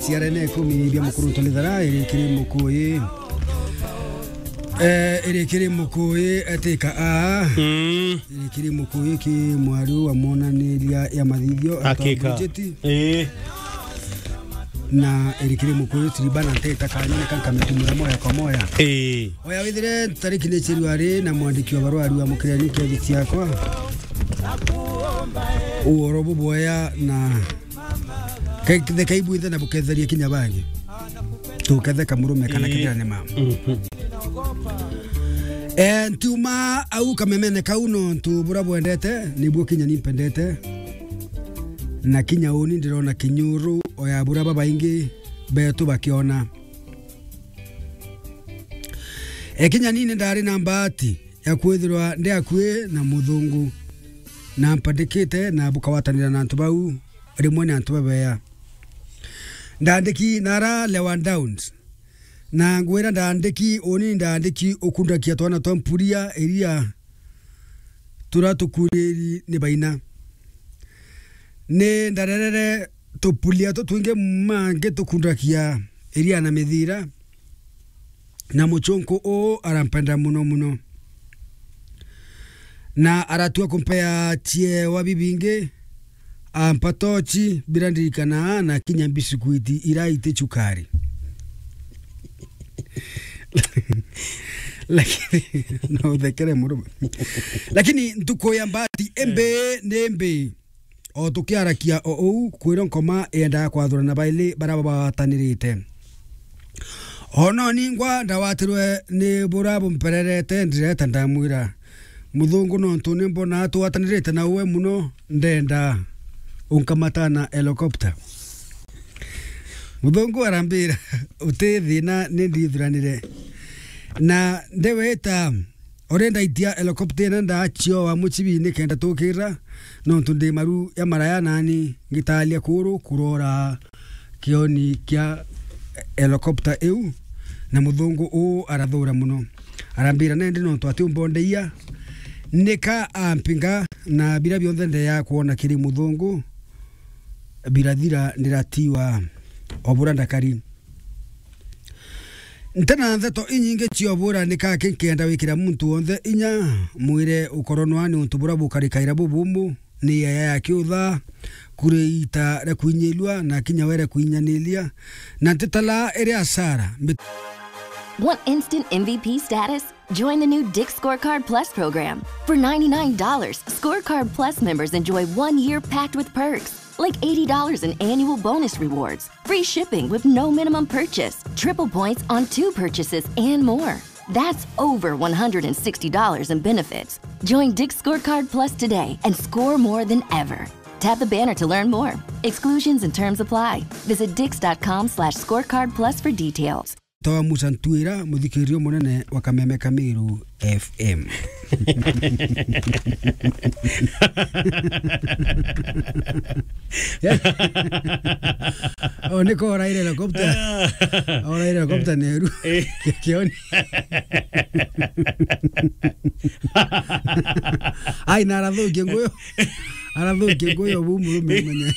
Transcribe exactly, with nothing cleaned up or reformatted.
Ciarene ikumi bia mukuru Ntolithara, iri kiri Mukuyi. Eh, iri kiri Mukuyi, etika a. Mm. Iri kiri Mukuyi ki mwari wa monaniria ya mathithio, Hakika. Bujeti. Eh. Na iri kiri Mukuyu tiriba na nteta kanyene kanka mitumura moya kwa moya. Ii. Oya withire tariki ni ciru ari na mwandiki wa barua ari wa mukirani kethi ciakwa. Uoro bubwea na ke-, the kai bwithe na buketheria kinya bangi. Tuketheka murume kana Ii. kithira ni mama. Mhm. Eh, ntiuma au kamemene kau nontu bura bwendete, nibuo kinya ni mpendete. Na kinya uni ndirona kinyuru o ya bura babaingi betu bakiona. E, kinya ni ni ndari na mbaati ya kwithirwa ndi akui na muthungu, na mpandikite na bukawatanira na antu bau, rimwe ni antu babeya. Ndandiki nara Lewa Downs, na ngwira ndandiki, uni ndandiki ukundakia twana twa mpuria iria tura tukuriri ni baina. Ni ndarerere tupulia tutwingi mangi tukundakia iria na mithira, na muchunku uu arampenda muno muno. Na aratua kumpea ciewa bibingi, ampa tochi, birandirikana na kinya mbisukwiti ira iti chukari. Lakini, no uthekere murume. Lakini ntuku ya mbati imbi ni mbi. O tukiarakia o uu, kwirwa nkoma yendaga kwathurana baili baria bawatanirite. O no ningwa ndawatirwe ni buria bumpererete, ndireta ndamwira, "Muthungu, nontu ni mbona twatanirite na uwe muno, ndenda unkamata na helicopter." Muthungu arambira, "Uti thina, ni ndithuranire." Na ndeweta, ore ndaitia helicopter ina ndachioa muchibi nikenda tukira, nontu ndi maru ya maraya nani ngitalia kuru kurora kioni kia helicopter iu, na muthungu uu arathura muno. Arambira, "Nendi nontu ati umbondeia." Nika ampinga, na bira bionthe ndeya kwona kiri muthungu birathira, ndiratiwa o bura ndakari. Ntena ntheto inyingi cia ubura, nikaki nkenda wikira muntu wonthe inya, mwire ukoronwa ni untu bura bukarikaira bubumu, ni yaya ya kiutha, kuri ita ria kwinyilua, na kinya were kwinyanilia, na ntitala iri asara. Mbi- Want instant M V P status? Join the new Dick's Scorecard Plus program. For ninety-nine dollars, Scorecard Plus members enjoy one year packed with perks, like eighty dollars in annual bonus rewards, free shipping with no minimum purchase, triple points on two purchases, and more. That's over one hundred sixty dollars in benefits. Join Dick's Scorecard Plus today and score more than ever. Tap the banner to learn more. Exclusions and terms apply. Visit dicks dot com slash scorecard plus for details. Toa Musa Ntwira, muthikiririo munene wa Kameme Kamiru F M. O, niko oraire helicopter. Oraire helicopter neru. Eh. Kioni. Ai, na arathukia nguyo. Arathukia nguyo bu murume umenye.